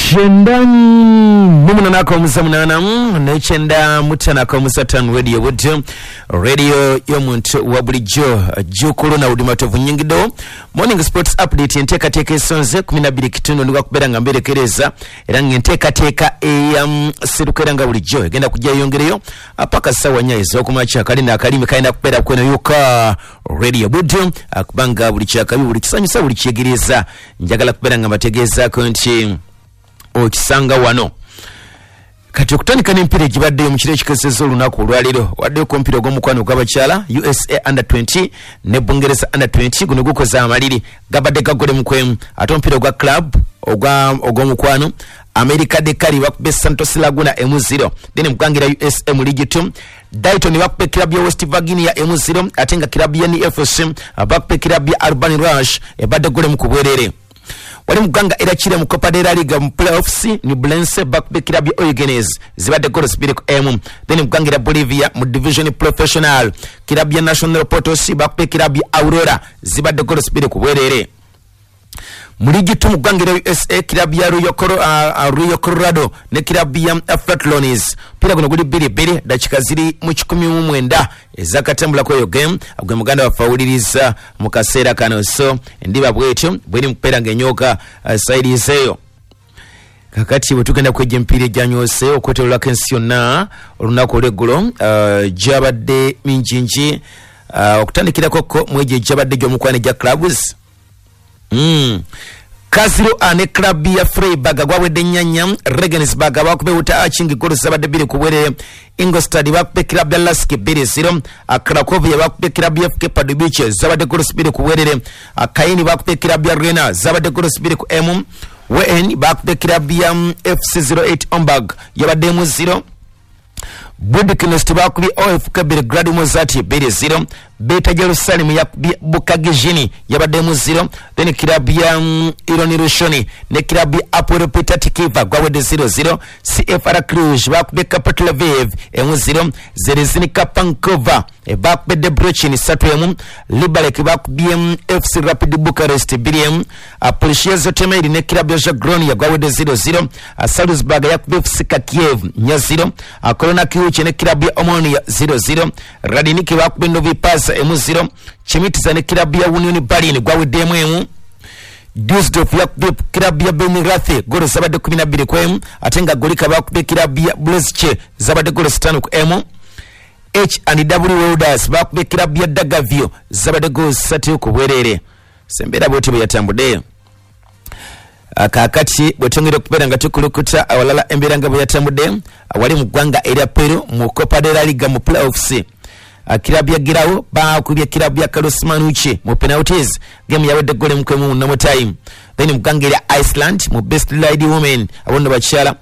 98.8 95.5 Radio Budyo, radio y'omuntu wa bulijjo. Jukulu na Udimatovu nyingido Morning Sports Update enteekateeka esonze 12 kitundu nduga kubeera nga mberekereza era ng'enteekateeka eya sirukera nga bulijjo egenda kujja yongereyo paka ssaawa 4 ez'okumakya. Kalina akalimi kalina kubeera kweno yokka Radio Budyo, kubanga buli kyakabi, buli kisanyusa, buli kyegereza njagala kubeera nga mbategeezaako nti okisanga wano. Kati okutandika n'empiira egibaddeyo mu kiro ekikesezza olunaku olwaleero, waddeyo ku omupiira ogw'omukwano ogw'abakyala USA under 20 ne Bungereza under 20, guno gukoze amaliri gabadde gagole mukwemu. Ate omupiira ogwa club ogw'omukwano America de Cali bakube Santos Laguna 0, then mukangira USA mu League 2 Dayton bakube club ya West Virginia 0, ate nga club ya NFC bakube club ya Urban Rush ebadde gole mukubwerere. Wali muganga era kire mu Copa de la Liga mu playoffs ni Blense bakube club ya Oigenes zibadde goal zibiri ku M. Then muganga era Bolivia mu division professional club ya National Potosi bakube club ya Aurora zibadde goal zibiri ku bwerere. Mu ligi 2 muganga era USA club ya Rio Colorado ne club ya Flatlonis pira guno guli 2-2 dakika ziri mu 19 ezakatambula kweyo game agwe muganda wafawuliriza mu kaseera kano. So ndiba bwetyo bweri mupera ng'enyoka saidi zeyo. Kakati bwe tugenda kwejja emipiira egyanyose okwetoololako ensi yonna olunaku olw'eggulo gyabadde mingingi, okutandikirako ko mwegyo egyabadde gy'omukwano egya clubs. Kaziro ane club ya Freiburg gwawedde nnyanya, Regensburg bakube Uta Achingi golo zabadde 2 ku bwerere, Ingolstadt bakube club ya Lask 2-0, Cracovia bakube club ya FK Pardubice zabadde golo 2 ku bwerere, Kaini bakube club ya Rena zabadde golo 2 ku M, WN bakube club ya FC 08 Omberg yabadde mu 0, Budknost bakubye OFK Belgrade Mozart 2-0, Beta Jerusalem yakubye Bukagijini yabadde mu 0, then club ya Ironi Rushoni ne club ya Apoel Petah Tikva gwawedde 0-0, CFR Cluj bakubye Kapot Lviv 0, Zerezinika Pankova bakubye Debrecen 3-1, Liberec bakubye FC Rapid Bucharest 2-1, Polishia Zotemeri ne club ya Jagronia gwawedde 0-0, Salzburg yakubye FC Kiev 4-0, Corona Kiuche ne club ya Omonia 0-0, Radiniki bakubye Novi Pazar 0, Chemitiza ne club ya Union Berlin gwawedde 1, Dusseldorf yakubye club ya Benrath golo zabadde 12 ku M, ate nga Golika bakubye club ya Blesche zabadde golo 5 ku M, H&W Welders bakubye club ya Dagavio zabadde golo 3 ku bwerere. Sembeera bwetyo bwe yatambudde. Kaakati bwe twongera okubeera nga tukulukuta awalala embeera nga bwe yatambudde, wali mu ggwanga erya Peru mu Copa de la Liga mu playoffs club ya Girao bakubye club ya Carlos Manucci mu penalties, game yawedde gole mukwemu mu normal time. Then mu ggwanga erya Iceland mu Best Lady Women abono bakyala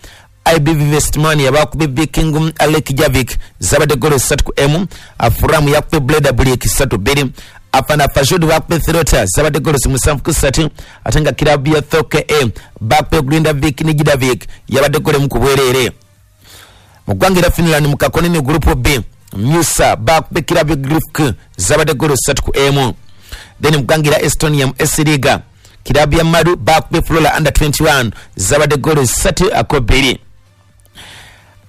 IBV Vestmania bakubye Viking Alek Javik zabadde gole 3 ku M, Afram yakubye Bleda Blik 3-2, Afana Fajud bakubye Throta zabadde gole 7 ku 3, ate nga club ya Thoke A bakubye Grindavik ne Gidavik yabadde gole mu kubwerere. Mu ggwanga erya Finland mu Kakonene Group B Musa bakubye club ya Grifk zabadde gole 3 ku M. Then mu ggwanga erya Estonia mu S Liga club ya Madu bakubye Flora under 21 zabadde gole 3 ku 2.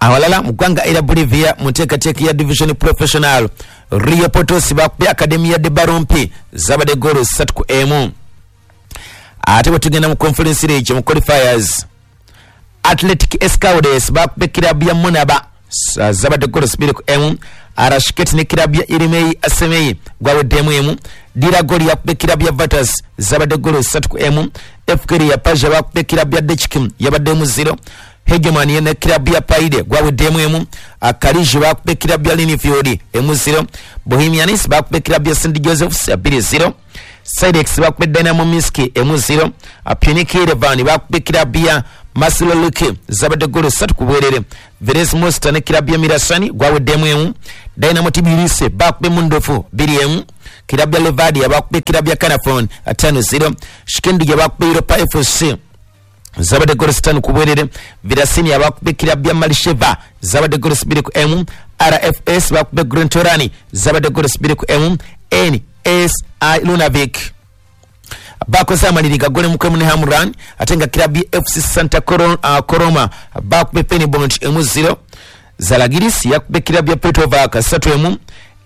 Awalala mu ggwanga erya Bolivia mu nteekateeka ya Division Professional Rio Potosi bakubye Academia de Barompi zabadde gole 3 ku M. Ate bwe tugenda mu Conference League mu qualifiers Athletic Escaudes bakubye club ya Monaba zabadde gole 2 ku M, Arashket ne club ya Irimei Asemei gwaweddemu M, Diragoli yakubye club ya Vatas zabadde gole 3 ku M, FK ya Paja bakubye club ya Dechkim yabaddemu 0, Hegemony ne club ya Paide gwaweddemu M, Akariji bakubye club ya Linfield 0, Bohemians bakubye club ya St Joseph's 2-0, Sidex bakubye Dynamo Minsk 0, Punic Yerevan bakubye club ya Masiloluke zabadde golo 3 ku bwerere, Veres Mosta ne club ya Mirasani gwaweddemu M, Dynamo Tbilisi bakubye Mundofu 2-1, club ya Levadia bakubye club ya Kanafon 5-0, Shkendu bakubye Europa FC zabadde golo 5 ku bwerere, Virasini bakubye club ya Malisheva zabadde golo 2 ku M, RFS bakubye Grentorani zabadde golo 2 ku M, NSI Lunavik Bakoze amaliri gagole mukwemu ne Hamran, ate nga kilabu ya FC Santa Coroma bakube Penibont 1-0. Zalagiris yakube kilabu ya Petrovac 3-1.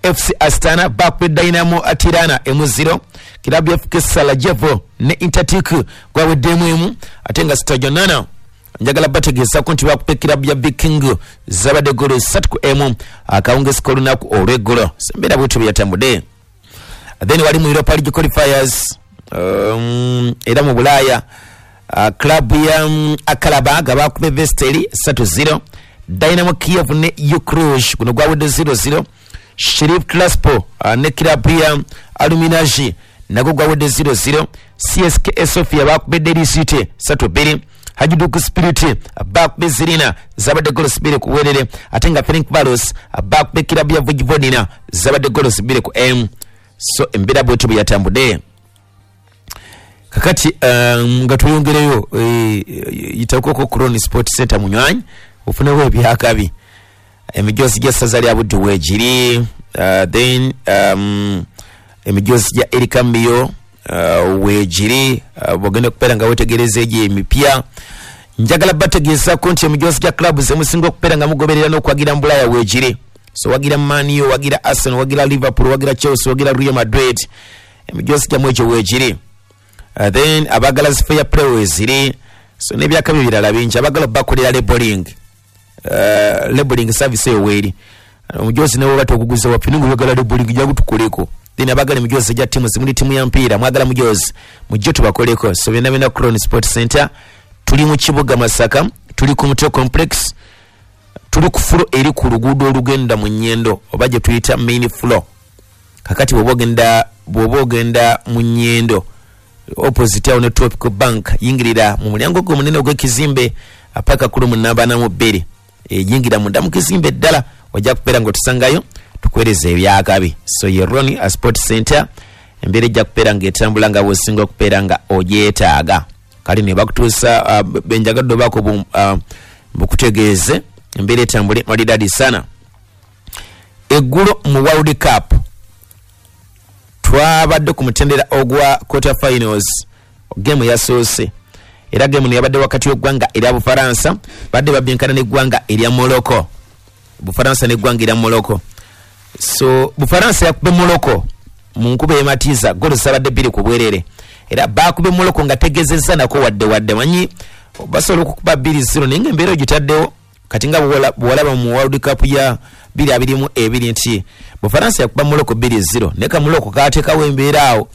FC Astana bakube Dynamo Tirana 1-0. Kilabu ya FK Sarajevo ne Intertik gwaweddemu 1, ate nga Stajonana njagala bategeeza nti bakube kilabu ya Viking zabadde golo 3-1 akawungezi k'olunaku olw'eggulo. Embeera bwetyo bwe yatambudde. Then wali mu Europa League qualifiers, era mu Bulaaya, club ya Akalabaga bakube Vesteli 3-0. Dynamo Kiev ne Ukruj guno gwawedde 0-0. Sheriff Tiraspol ne club ya Aluminaji nagwo gwawedde 0-0. CSKA Sofia bakube Derry City 3-2. Hajduk Split bakube Zirina zabadde golo 2-2, ate nga Ferencvaros bakube club ya Vojvodina zabadde golo 2-1. So embeera bwetyo bwe yatambudde. Kakati nga tweyongereyo, yitakoko Crown Sport Center munywanyi ofunewo ebyakabi, emijoozi gy'essaza lya Buddu weegiri, then emijoozi gya Erika Mbiyo weegiri, bwogenda okubeera nga wetegereza egyo emipya. Njagala bategeezako nti emijoozi gya club zemusinga okubeera nga mugoberera n'okwagira mu Bulaaya weegiri. So wagira Man U, wagira Arsenal, wagira Liverpool, wagira Chelsea, wagira Real Madrid, emijoozi gyammwe egyo weegiri. Then abagala fair play weeziri. So n'ebyakabi birala bingi. Abagala bakolera labeling, labeling service eyo weeri. Omujoozi ne bw'oba toguguza waffe ninga oyagala labeling jangu tukoleko. Then abagala emijoozi egya ttiimu, zimuli ttiimu ya mpiira mwagala mujoozi mujje tubakoleko. So byonna byonna Crown Sport Center, tuli mu kibuga Masaka, tuli ku Mutwe Complex, tuli ku floor eri ku luguudo olugenda mu Nyendo oba gye tuyita main floor. Kakati bw'oba ogenda mu Nyendo opposite awo ne Tropical Bank, yingirira mu mulyango gwo omunene ogw'ekizimbe paka ku lumu namba ana mu bbiri, yingira munda mu kizimbe ddala, ojja kubeera ng'otusangayo tukuweereza ebyakabi. So ye Ronnie a Sport Center, embeera ejja kubeera ng'etambula nga bw'osinga okubeera nga ogyetaaga. Kale ne bakutuusa benjagadde obaako bukutegeeze embeera etambule malidadi sana. Eggulo mu World Cup twabadde ku mutendera ogwa quarter finals, gemu yasoose, era gemu ne yabadde wakati w'eggwanga erya Bufaransa, badde babyenkana n'eggwanga erya Morocco. Bufaransa n'eggwanga erya Morocco. So Bufaransa yakube Morocco mu nkuba ematiza golo zabadde 2-2, era bakube Morocco nga tegezezza nako wadde manyi basobola okukuba 2-0, naye ng'embeera ogitaddewo kati nga bw'olaba mu World Cup ya 2022 nti Bufaransa yakuba Morocco 2-0, naye ka Morocco kaateekawo embeera awo,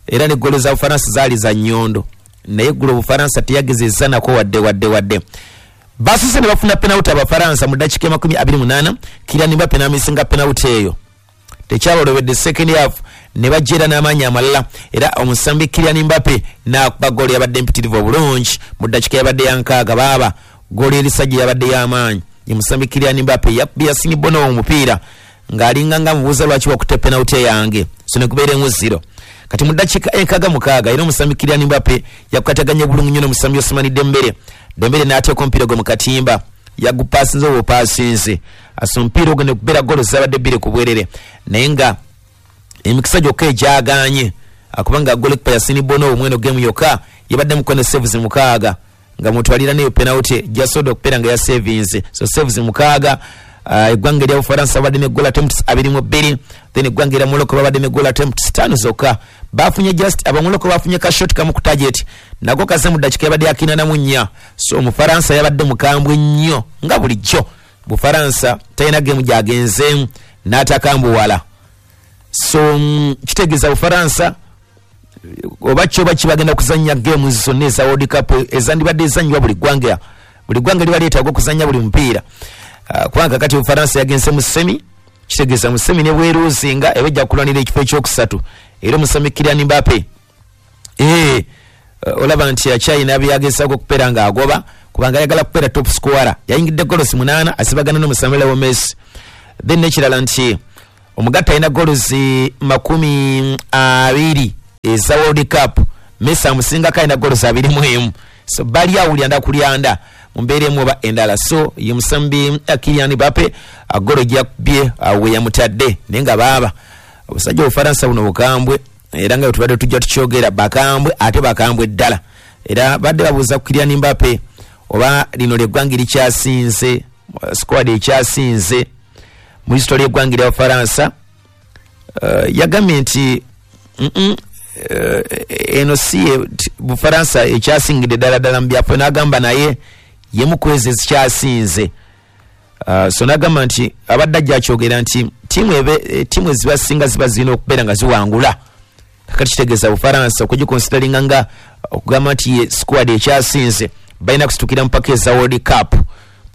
era ne golo za Bufaransa zaali za nnyondo, naye eggulo Bufaransa teyagezezza nako wadde. Basuse ne bafuna penalty Abafaransa mu ddakiika 28, Kylian Mbappe n'amisinga penalty eyo. Tekyabalobedde second half ne bajjera n'amaanyi amalala, era omusambi Kylian Mbappe n'akuba ggoolo yabadde empitirivu obulungi mu ddakiika yabadde ya 6. Baaba ggoolo erisajja yabadde y'amaanyi. Ye musambi Kylian Mbappe yakubye Yassine Bono omupiira ng'alinga nga mubuuza lwaki wakutte penalty yange, so ne kubeera 1-0. Kati mu ddakiika 66 era omusambi Kylian Mbappe yakwataganya bulungi nnyo n'omusambi Ousmane Dembele. Dembele n'ateeka omupiira gwe mu katimba, yagupaasinze oba opaasinze, asa omupiira ogwo ne kubeera ggoolo zabadde 2-2, naye nga emikisa gyokka egyagaanye kubanga goalkeeper Yassine Bono omweno gemu yokka yabadde mukono saves 6 nga mutwalira neyo penalty jasodo okubeera nga yasavinze. So saves 6. Eggwanga erya Bufaransa babadde ne goal attempts 22, then eggwanga erya Morocco babadde ne goal attempts 5 zokka. Bafunye just abamorocco bafunye ka shot kamu ku target nako kaze mu ddakiika yabadde 84. So Omufaransa yabadde mukambwe nnyo nga bulijjo. Bufaransa talina gemu gy'agenzeemu n'atakambuwala. So kitegeeza Bufaransa oba kyo oba kibagenda kuzannya gemu zonna eza World Cup ezandibadde ezannyibwa buli ggwanga. Buli ggwanga liba lyetaaga okuzannya buli mupiira. Kubanga kati Bufaransa yagenze mu semi, kitegeeza mu semi ne bweruuzinga eba ejja kulwanira ekifo ekyokusatu. Era omusambi Kylian Mbappe olaba nti akyalina byagezaako okubeera ng'agoba kubanga ayagala kubeera top scorer. Yayingidde goals 8 asibagana n'omusambi Leo Messi. Then n'ekirala nti omugatta alina goals 20 eza World Cup, Messi amusingako alina goals 21. So bali awo lyanda kulyanda mu mbeera emu oba endala. So ye musambi Kylian Mbappe golo gyakubye we yamutadde, naye nga baaba obusajja Obufaransa buno bukambwe. Era nga tubadde tujja tukyogera, bakambwe ate bakambwe ddala. Era badde babuuza ku Kylian Mbappe oba lino lyeggwanga erikyasinze, squad ekyasinze mu history y'eggwanga lya Bufaransa. Yagambye nti eno si Bufaransa ekyasingidde ddala ddala mu byaffe, n'agamba naye yemu ku ezo ezikyasinze. So n'agamba nti abadde ajja akyogera nti ttiimu ezibasinga ziba zirina okubeera nga ziwangula. Kakati kitegeeza Bufaransa okugikonsideringa nga okugamba nti ye squad ekyasinze, balina kusitukira mpaka eza World Cup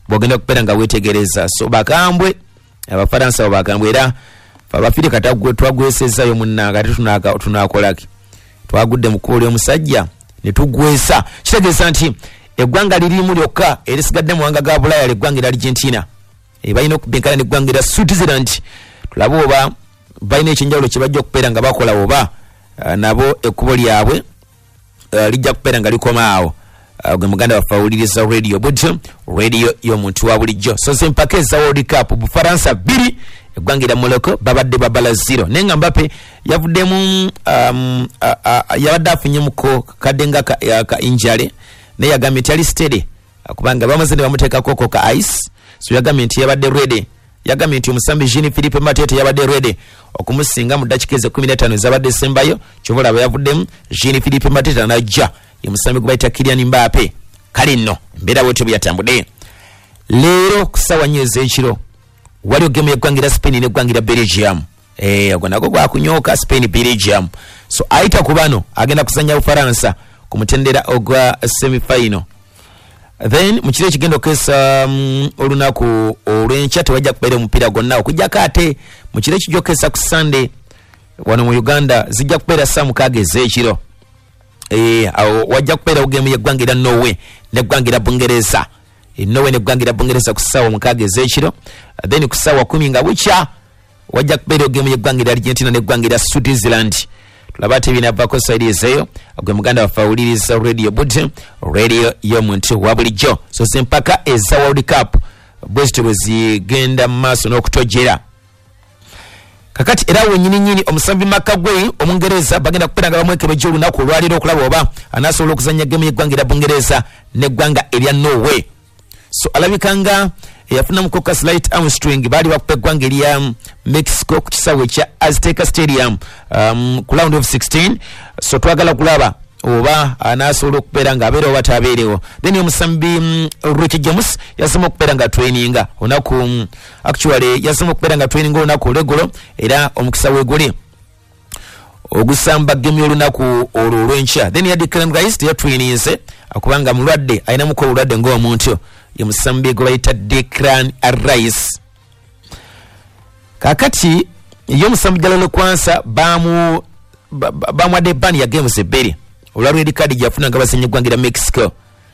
bwogenda okubeera nga weetegereza. So bakambwe Abafaransa abo, bakambwe. Era abafirika twagwesezayo munnanga, ate tunakolaki? Twagudde mu kkubo ly'omusajja ne tugwesa. Kitegeeza nti eggwanga lirimu lyokka erisigadde mu mawanga ga Bulaaya lyeggwanga erya Argentina. Balina okubinkana neggwanga erya Switzerland, tulabe oba balina ekyenjawulo kye bajja okubeera nga bakola, oba nabo ekkubo lyabwe lijja kubeera nga likoma awo. Gwe muganda waffe awuliriza Radio Butyo, radio y'omuntu wa bulijjo. So zempaka eza World Cup, Bufaransa 2, eggwanga erya Morocco babadde babala 0. Naye nga Mbappe yavuddemu, yabadde afunyemuko kadde nga ka injury, naye yagambye nti ali steady kubanga bamaze ne bamuteekako ka ice. So yagambye nti yabadde ready. Yagambye nti omusambi Jean Philippe Matete yabadde ready okumusinga mu ddakiika ezo 15 ezabadde esembayo. Kyova olaba yavuddemu, Jean Philippe Matete anajja ye musambi gwe bayita Kylian Mbappe. Kale nno embeera bwetyo bwe yatambudde. Leero ku ssaawa 4 ez'ekiro waliwo gemu y'eggwanga erya Spain n'eggwanga erya Belgium. Ogwo nagwo gwakunyooka, Spain Belgium. So ayita ku bano agenda kuzannya Bufaransa ku mutendera ogwa semifinal. Then mu kiro ekigenda okukesa olunaku olw'enkya tewajja kubeera omupiira gwonna, okujjako ate mu kiro ekijja okukesa ku Sunday wano mu Uganda zijja kubeera saa 6 ez'ekiro. Awo wajja kubeerawo gemu y'eggwanga erya Norway n'eggwanga erya Bungereza. Norway n'eggwanga erya Bungereza ku ssaawa 6 ez'ekiro. Then ku ssaawa 10 nga bukya wajja kubeerawo gemu y'eggwanga erya Argentina n'eggwanga erya Switzerland. Tulaba ate binavako saidi ezeeyo. Gwe muganda waffe awuliriza Radio Butyo, radio y'omuntu wa bulijjo. So zempaka eza World Cup bwe zityo bwe zigenda mu maaso n'okutojera. Kakati era wenyini nyini omusambi Makagwe Omungereza bagenda kubeera nga bamwekebejja olunaku olwaleero okulaba oba anaasobola okuzannya gemu y'eggwanga erya Bungereza n'eggwanga erya Norway. So alabika nga eyafunamuko ka slight hamstring, baali bakupa eggwanga erya Mexico ku kisaawe ekya Azteca Stadium ku round of 16. So twagala kulaba oba anaasobola okubeera nga abeerewo oba tabeerewo. Then omusambi Ricky James yazemu okubeera nga traininga olunaku, actually yazemu okubeera nga traininga olunaku olweggulo, era omukisa weeguli ogusamba gemu y'olunaku olwo olw'enkya. Then ya Declan Rice teyatraininze kubanga mulwadde, alinamuko obulwadde ng'omuntu, ye musambi gwe bayita Declan Rice. Kakati ye omusambi Jalal Kwansa bamuwadde ban ya games 2 olwa red card gyafuna nga bazannya eggwanga erya Mexico.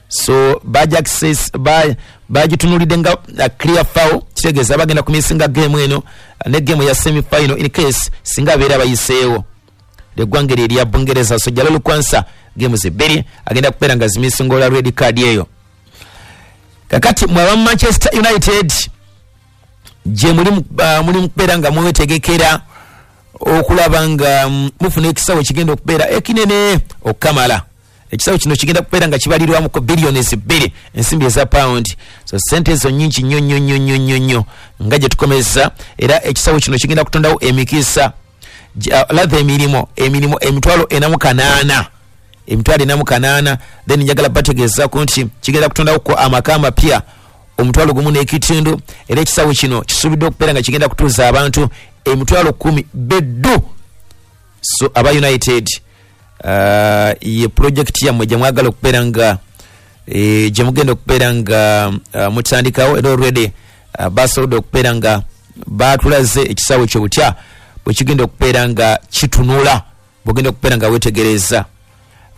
So bagitunulidde nga clear foul, kitegeeza bagenda kumisinga game eno ne game ya semi final in case singa abeera bayiseewo eggwanga eryo erya Bungereza. So Jalal Kwansa games 2 agenda kubeera nga zimisinga olwa red card eyo. Kakati mwaba Manchester United gye muli mukubeera nga mwetegekera okulaba nga mufuna ekisawo ekigenda okubeera ekinene okukamala. Ekisawo kino kigenda kubeera nga kibalirwamuko biliyoni 2 ensimbi eza pound. So sente ezo nnyingi nnyo nnyo nnyo nnyo nnyo nnyo nga gye tukomeza. Era ekisawo kino kigenda kutondawo emikisa latha emirimu 408,000, 408,000. Then njagala bategeezaako nti kigenda kutondawo ko amaka amapya 1,500. Era ekisawo kino kisuubiddwa okubeera nga kigenda kutuuza abantu 10,000 beddu. So aba United, ye project yammwe gye mwagala okubeera nga gye mugenda okubeera nga mutandikawo, era already basobodde okubeera nga batulaze ekisawo kyo butya bwe kigenda okubeera nga kitunula, bwogenda okubeera nga weetegereza.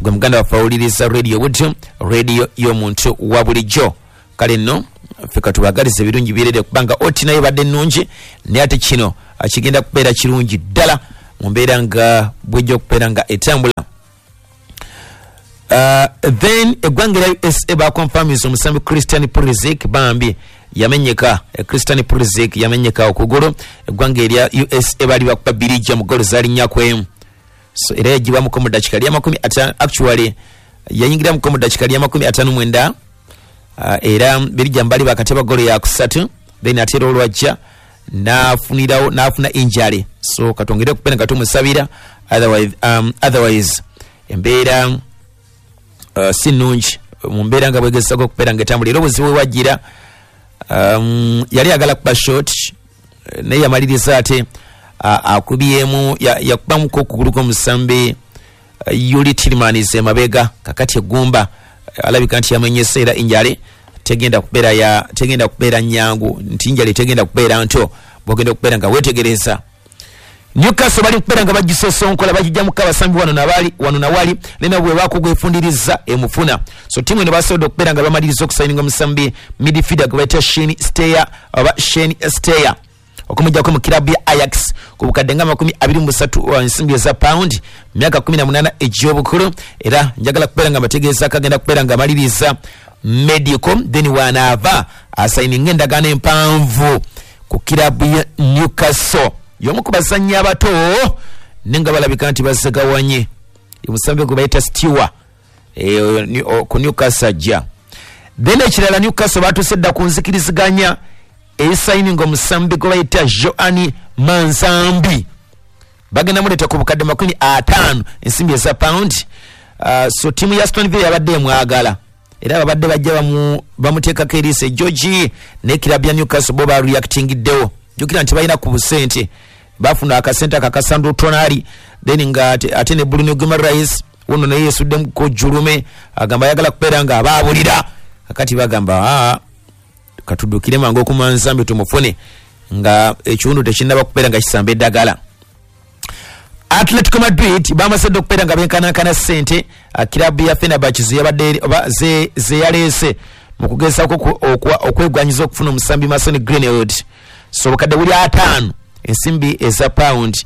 Gwe muganda waffe awuliriza Radio Butyo, radio y'omuntu wa bulijjo. Kale nno ffe katubagalize ebirungi byerere, kubanga oti nayo badde nnungi, naye ate kino kigenda kubeera kirungi ddala mu mbeera nga bwejja okubeera nga etambula. Then eggwanga erya USA bakonfamisa omusambi Christian Pulisic, bambi yamenyeka. Christian Pulisic yamenyeka okugulu. Eggwanga erya USA baali bakuba 2 mu golo zaali 4-1. So era yagibwamuko mu dakiika lya 50, actually yayingiramuko mu dakiika lya 59, era Belgium bali bakateba golo ya kusatu, then ate era olwajja nafunirawo nafuna injury. So katwongere okupena nga tumusabira, otherwise embeera si nnungi mu mbeera nga bwegezesako okubeera nga etambula. Era obuzibu wewajjira, yali agala kuba shot, naye yamaliriza ate akubyemu, yakubamuko okugulu kw'omusambi Yuli Tielemans emabega. Kakati eggumba alabika nti yamenyese, era injury tegenda kubeera nyangu, nti injury tegenda kubeera nto bwogenda okubeera nga weetegereza. Newcastle bali kubeera nga bagisosonkola, bagijjamuko abasambi wano nabali wano nawali, naye bwe bakugwefundiriza emufuna. So ttiimu eno basobodde okubeera nga bamaliriza okusayininga omusambi midfielder gwe bayita Shane Steyer oba Shane Steyer, okumuggyako mu kirabu ya Ajax ku bukadde nga 23 ensimbi eza pound, myaka 18 egy'obukulu. Era njagala kubeera nga mbategeeza kagenda kubeera nga amaliriza medical, then wanaava asayininga endagaano empanvu ku kirabu ya Newcastle. Y'omu ku bazannyi abato naye nga balabika nti bazegawanye, omusambi gwe bayita Stewer ku Newcastle ajja. Then ekirala, Newcastle batuuse dda ku nzikiriziganya esayininga omusambi gwe bayita Joani Manzambi, bagenda muleeta ku bukadde 50 ensimbi eza pound. So ttiimu ya Aston Villa yabadde emwagala, era babadde bajja bamuteekako eriiso ejogi, ne kirabu ya Newcastle bo bareactingiddewo. Jjukira nti balina ku busente, bafuna akasente akakasandro Tonali, then nga ate ne Bruno Guimaraes wuno naye yesuddemu julume, agamba ayagala kubeera nga abaabulira. Kakati bagamba katuddukire mangu okumanzambi tumufune nga ekiwundu tekinnaba kubeera nga kisamba eddagala. Atletico Madrid bamaze okubeera nga benkanankana ssente kirabu ya Fenerbahce zeyabadde oba zeyaleese mu kugezaako okwegwanyiza okufuna omusambi Mason Greenwood. So obukadde buli 50 ensimbi eza pound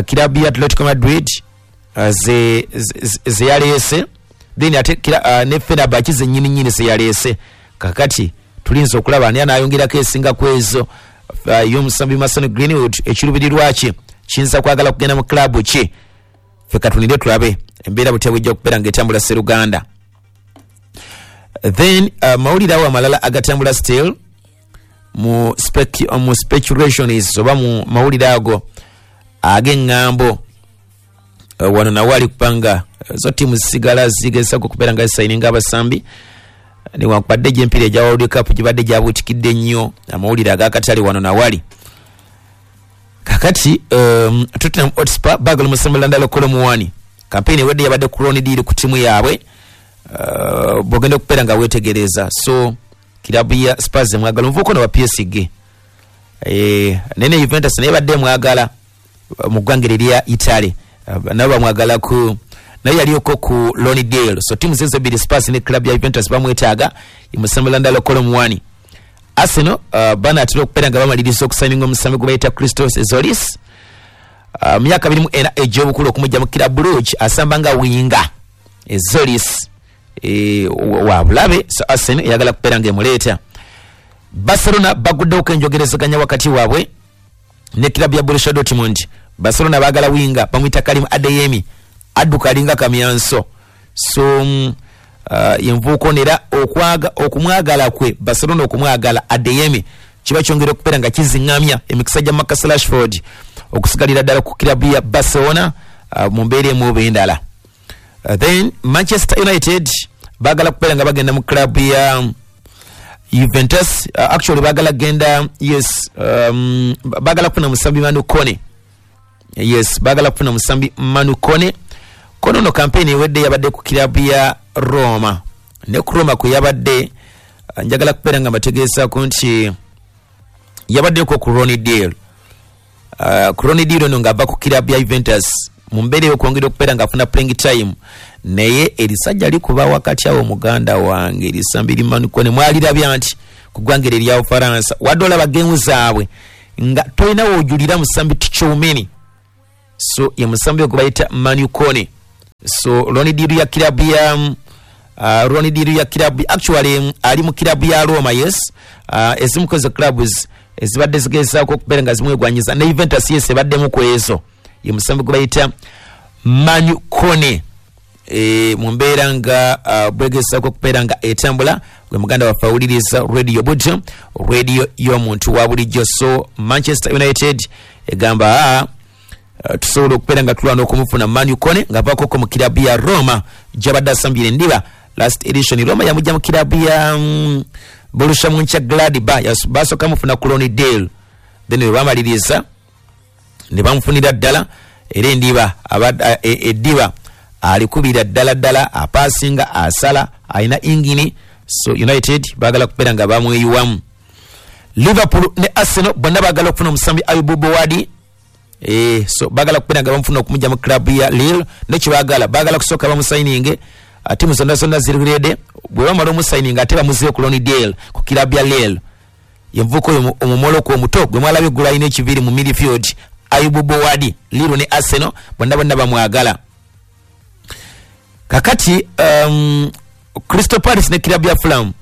kirabu ya Atletico Madrid zeyaleese, then ate ne Fenerbahce zennyini nnyini zeyaleese. Kakati tulinza okulaba ani anaayongerako esinga ku ezo y'omusambi Mason Greenwood. Ekiruubirirwa kye kiyinza kwagala kugenda mu club ki? Ffe katunire tulabe embeera butya bwejja okubeera ng'etambula sseruganda. Then mawulire awo amalala agatambula still mu speculations oba mu mawulire ago ag'eŋŋambo, wano nawo ali kubanga zo ttiimu zisigala zigezesako okubeera nga zisayininga abasambi, newankubadde gy'empiira egya World Cup gibadde gyabuutikidde nnyo amawulire ag'akatale wano nawali. Kakati Tottenham Hotspur baagala omusambi Randal Kolo Muani. Campaign ewedde yabadde ku loan deal ku ttiimu yaabwe, bw'ogenda okubeera nga weetegereza. So kirabu ya Spurs emwagala, omuvubuka ono wa PSG, naye ne Juventus naye badde emwagala mu ggwanga erya Italy, nabo bamwagala ku naye yaliyoko ku loan deal. So ttiimu zezo ebbiri, Spurs ne club ya Juventus, bamwetaaga omusambi Randal Kolo Muani. Arsenal banaatera okubeera nga bamaliriza okusayininga omusambi gwe bayita Christos Tzolis, myaka 24 egy'obukulu, okumujja mu Club Brugge, asamba nga winger. Tzolis wa bulabe, so Arsenal eyagala kubeera nga emuleeta. Barcelona baguddewoko enjogerezeganya wakati waabwe ne club ya Borussia Dortmund. Barcelona baagala winger bamuyita Karim Adeyemi, adduka alinga kamyanso. So envuuko era okumwagala kwe Barcelona okumwagala Adeyemi kiba kyongera okubeera nga kiziŋŋamya emikisa gya Marcus Rashford okusigalira ddala ku kirabu ya Barcelona mu mbeera emu oba endala. Then Manchester United baagala kubeera nga bagenda mu club ya Juventus, actually baagala genda, yes, baagala kufuna musambi Manu Kone. Yes, baagala kufuna musambi Manu Kone. Kone ono campaign ewedde yabadde ku kirabu ya Roma, ne ku Roma kwe yabadde, njagala kubeera nga mbategeezaako nti yabaddeko ku loan deal. Ku loan deal ono ng'ava ku kirabu ya Juventus mu mbeera ey'okwongera okubeera ng'afuna playing time, naye erisajja likuba wakati awo, muganda wange, erisambi li Manu Kone mwalirabya nti ku ggwanga eryo erya Bufaransa wadde olaba geemu zaabwe nga tolina woojulira musambi Tchouameni. So ye musambi ogwo bayita Manu Kone. So loan deal ya kirabu ya loan deal ya kirabu, actually ali mu kirabu ya Roma, yes. Ezimu ku ezo clubs ezibadde zigezaako okubeera nga zimwegwanyiza ne Juventus, yes, ebaddemu ku ezo, ye musambi gwe bayita Manu Kone mu mbeera nga bwegezaako okubeera nga etambula. Gwe muganda waffe awuliriza Radio Bujo, radio y'omuntu wa bulijjo. So Manchester United egamba tusobola okubeera nga tulwana okumufuna Manu Kone ng'avaakoko mu kirabu ya Roma gy'abadde asambire endiba. Last edition Roma yamujja mu kirabu ya Borussia Mönchengladbach, basooka mufuna ku loan deal, then bwe bamaliriza ne bamufunira ddala. Era endiba eddiba alikubira ddala ddala, apasinga, asala, alina ingini. So United baagala kubeera nga bamweyiwamu. Liverpool ne Arsenal bonna baagala okufuna omusambi Ayub Bouaddi. So baagala kubeera nga bamufuna okumujja mu club ya Lille. Nekibaagala, baagala kusooka bamusayininge. Tiimu zonna zonna ziri ready. Bwe bamala omusayininga, ate bamuzeeyo ku loan deal ku club ya Lille. Yenvuka oyo omumoloko omuto gwe mwalabye eggulu, alina ekiviiri mu midfield, Ayub Bouaddi. Lille ne Arsenal bonna bonna bamwagala. Kakati Crystal Palace ne club ya Fulham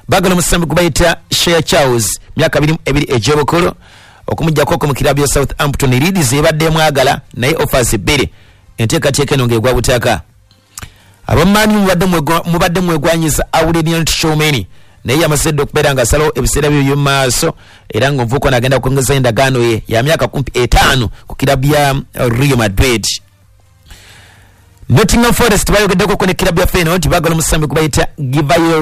baagala omusambi gwe bayita Shea Charles, myaka 22 egy'obukulu, okumugjako mu kirabu ya Southampton. Leeds ebadde emwagala, naye offers bbiri, enteekateeka eno ng'egwa butaka. Abamaani mubadde mwegwanyiza Aurelien Tchouameni, naye yamaze dda okubeera nga asalawo ebiseera bye by'omu maaso, era ng'omuvubuka ono agenda kwongeza endagaano ye ya myaka kumpi 5 ku kirabu ya Real Madrid. Nottingham Forest bayogeddeko ne kirabu ya Feyenoord nti baagala omusambi gwe bayita Givairo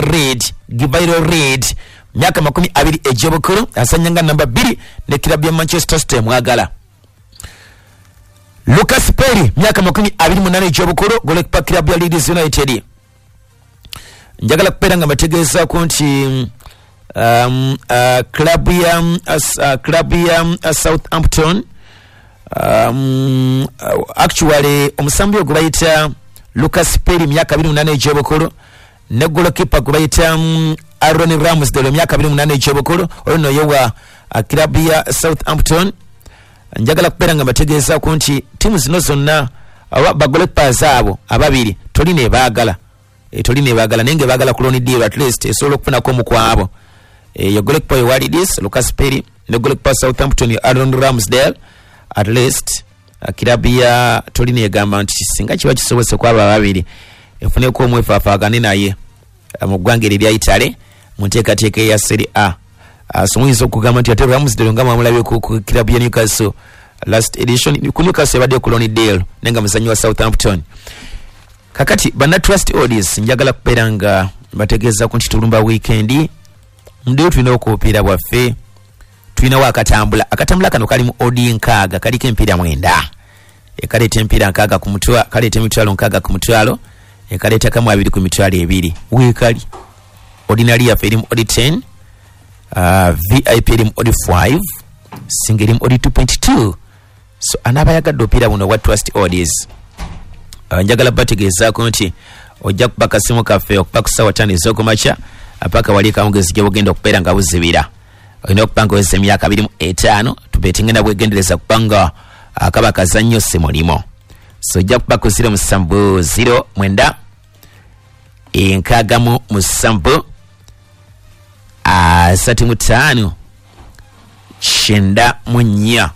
Read. Givairo Read, myaka 20 egy'obukulu, asanya nga namba 2, ne kirabu ya Manchester City emwagala. Lucas Perri, myaka 28 egy'obukulu, goalkeeper, kirabu ya Leeds United. Njagala kubeera nga mbategeezaako nti club ya Southampton, actually omusambi ogwo bayita Lucas Perri, myaka 28 egy'obukulu, ne goalkeeper gwe bayita Aaron Ramsdale, myaka 28 egy'obukulu, oyo nno ye wa club ya Southampton. Njagala kubeera nga mbategeezaako nti tiimu zino zonna oba bagoalkeepers abo ababiri tolina ebaagala. Tolina ebaagala, naye nga ebaagala ku loan deal, at least esobola okufunako omu ku abo. Ye goalkeeper wa Leeds Lucas Perri ne goalkeeper Southampton Aaron Ramsdale. At least kirabu ya Torino egamba nti singa kiba kisobose kwabo ababiri, efuneko omwefafaagane naye mu ggwanga eryo erya Italy mu nteekateeka eya Serie A. So muyinza okugamba nti ate Ramsdale nga mwamulabye ku kirabu ya Newcastle last edition, ku Newcastle ebadde ku loan deal, naye nga muzannyi wa Southampton. Kakati banna Trust Odds, njagala kubeera nga bategeezaku nti tulumba weekend ndio tulina okubupiira bwaffe. Tulinawo akatambula. Akatambula kano kali mu odd 60, kaliko empiira 9. Ekaleeta empiira 60 ku mutwalo, kaleeta 60,000 ku mutwalo, ekaleeta kamu abiri ku 20,000. Weekali ordinary yaffe eri mu odd 10, VIP eri mu odd 5, singa eri mu odd 2.2. So anaaba yagadde opiira buno obwa Trust Odds, njagala bategeezaako nti ojja kuba kasimu kaffe okuba ku ssaawa 5 ez'okumakya paka wali kamugezi gye bugenda okubeera nga buzibira. Olina okuba nga oweza emyaka 25. Tubetingenda bwegendereza kubanga akaba kazannyo si mulimo. So ojja kuba ku 0709 67 35 94,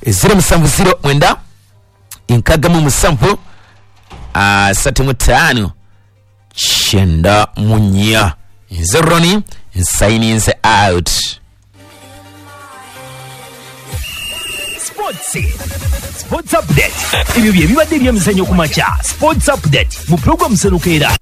0709 67 35 94. Nze Roni, nsayininze out. Sports Update. Ebyo bye bibadde ebyemizannyo ku makya. Sports Update mu pulogulaamu Senukeera.